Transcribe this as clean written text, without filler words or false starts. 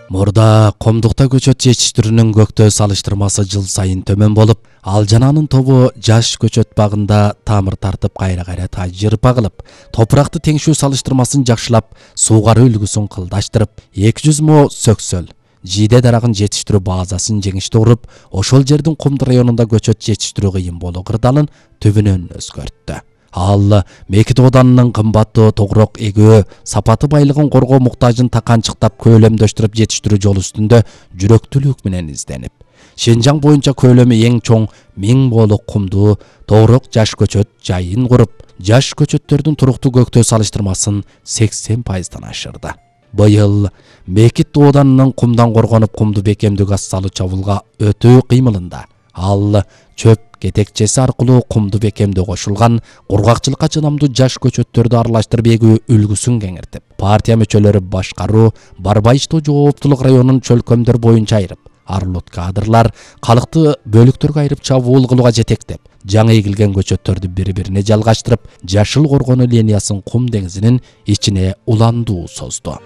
Мурда комдукта көчөт жетиштирүүнүн көктөө салыштырмасы жыл сайын төмөн болуп, ал жананын тобу жаш көчөт багында тамыр тартып кайра тажырпа кылып, топуракты теңшүү салыштырмасын жакшылап, суугаруу үлгүсүн кылдаштырып, 200 мо сөксөл жийде дарагын жетиштирүү базасын жеңиштүү куруп, ошол жердин Кумду районунда көчөт жетиштирүү кыйын болуу кырдаалын түбүнөн өзгөрттү. Ал Мекит Оданынын кымбаттуу тогурок эгөө, сапаты байлыгын коргоо муктажын таканчыктап көлөмдөштүрүп жетиштирүү жол үстүндө жүрөктүүлүк менен изденип, Шенжаң боюнча көлөмү эң чоң 1000 болук кумдуу тогурок жаш көчөт жайын куруп, жаш көчөттөрдүн туруктуу көктөө салыштырмасын 80% ашырды. Быйыл Мекит Оданынын кумдан коргонуп кумду бекемдүү газ салуу чабуулга өтүү кыймылында ал чөп кетекчеси аркылуу кумду бекемдөө кошулган кургакчылыкка чыдамдуу жаш көчөттөрдү аралаштырып эгүү үлгүсүн кеңиртип, партия мүчөлөрү башкаруу, барбай иштөө жооптулук районун чөлкөмдөр боюнча айырып, арылут кадрлар калыкты бөлүктөргө айырып чабуул кылууга жетектеп, жаңы эгилген көчөттөрдү бири-бирине жалгаштырып, жашыл коргонуу линиясын кум деңизинин ичине уландуу созду.